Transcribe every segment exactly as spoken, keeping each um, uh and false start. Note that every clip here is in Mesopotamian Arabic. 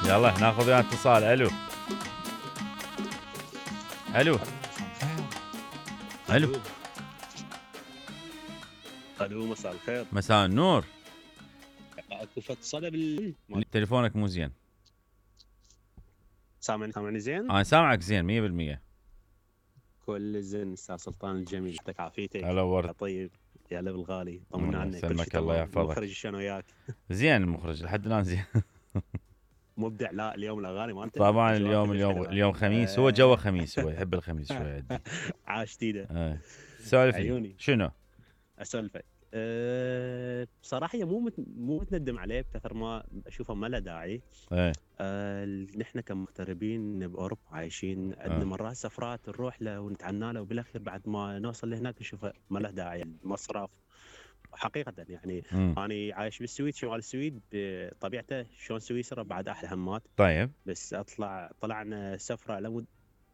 يلا ناخذ وياه اتصال. الو الو الو الو مساء الخير. مساء النور. اكو فد صدى بال تليفونك مو زين. سامعني سامعني زين؟ انا سامعك زين مية بالمية. كل زين استاذ سلطان الجميل، يعطيك عافيتك. هلا ورد. طيب يا لب الغالي، طمنا عنك. كل يسلمك شيء الله تمام. يحفظك. المخرج شلون وياك؟ زين المخرج لحد الان زين. مبدع. لا اليوم الاغاني مالته طبعا اليوم اليوم اليوم خميس، هو جوه خميس، هو يحب الخميس شوي. عاش تيده. ايه سولف لي عيوني. شنو؟ اسولفك. أه بصراحه هي مو مت... مو متندم عليه بكثر ما اشوفه ما له داعي. ايه أه نحن كمغتربين باوروبا عايشين، عندنا آه. مرات سفرات نروح له ونتعنى له، وبالاخير بعد ما نوصل لهناك نشوفه ما له داعي. المصرف حقيقه يعني. مم. انا عايش بالسويد، شمال السويد بطبيعته شلون سويسرا بعد احلى همات. طيب بس اطلع طلعنا سفره لمد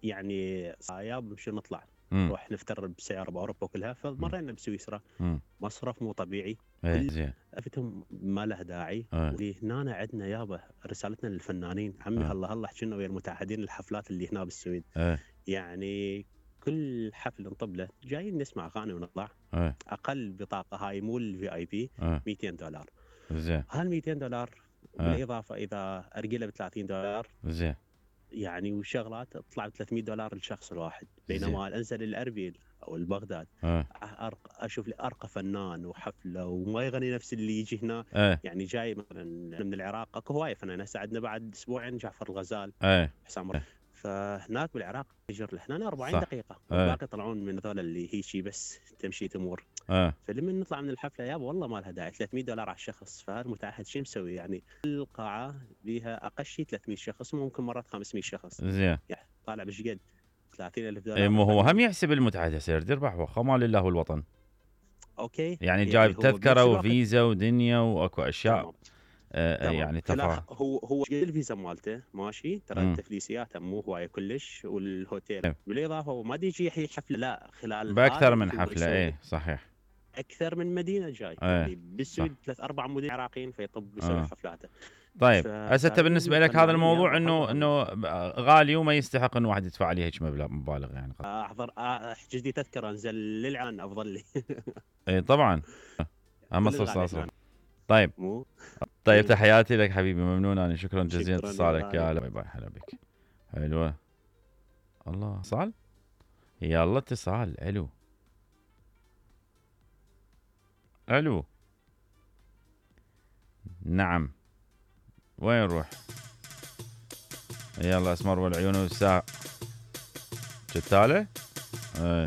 يعني صايب شو نطلع مم. نروح نفتر بسياره باوروبا كلها، فمرينا بسويسرا. مم. مصرف مو طبيعي. ايه زين. افتهم ما له داعي. آه. وهنا عندنا يابا رسالتنا للفنانين، عمي آه. الله الله حكينا ويا المتعهدين الحفلات اللي هنا بالسويد. ايه يعني كل حفل نطب له جايين نسمع اغاني ونطلع. ايه اقل بطاقه هاي مو الفي اي بي ايه مئتين دولار. زين. هال مئتين دولار بالاضافه اذا ارجله ب ثلاثين دولار زين. يعني وشغلات تطلع ب ثلاثمئة دولار للشخص الواحد. بينما انزل الاربيل او البغداد ايه أرق... اشوف لي ارقى فنان وحفله وما يغني نفس اللي يجي هنا. ايه يعني جاي مثلا من العراق، اكو هوايه فنانين هسه عندنا بعد اسبوعين جعفر الغزال، ايه حسام رب. فهناك بالعراق يجر له هنا أربعين صح. دقيقه، إيه. والباقي يطلعون من هذول اللي هيجي بس تمشي تمور. ايه فلما نطلع من الحفله يابا والله ما لها داعي. ثلاثمئة دولار على الشخص، فالمتعهد شو مسوي يعني؟ القاعه بيها اقل شيء ثلاثمئة شخص، ممكن مرات خمسمئة شخص. زين. يعني طالع بش قد ثلاثين ألف دولار. ايه مو هو هم يحسب المتعهد يصير يدير بحوه خمال لله والوطن. اوكي يعني جايب هو تذكره بنفس الوقت- وفيزا ودنيا واكو اشياء. تمام. آه تمام. يعني خلا- تفاهم. هو هو قد الفيزا مالته ماشي، ترى مم. التفليسيات مو هوايه كلش، والهوتيل إيه. بالاضافه هو ما يجي يحيي حفله لا خلال باكثر هذا من هو حفله. يسوي ايه صحيح. اكثر من مدينه جاي. إيه. يعني بالسويد صح. ثلاث اربع مدن عراقيين فيطب يسوي آه. حفلاته. طيب ف- هسه انت فعلياً بالنسبه لك هذا الفنانين الموضوع يابا انه حظهم. انه غالي وما يستحق انه واحد يدفع عليه هيك مبلغ مبالغ يعني. احضر احجز لي تذكره انزل للعن افضل لي. اي طبعا هم كل الغالي صار. هنا. طيب مو طيب إيه. تحياتي لك حبيبي، ممنون انا، شكرا جزيلا شكراً يا اتصالك يا غالي. هلا. باي باي هلا بك. حلوه. الله اتصال. يلا اتصال. الو الو نعم. وين نروح؟ يلا اسمر والعيون والساعة جتاله. ايه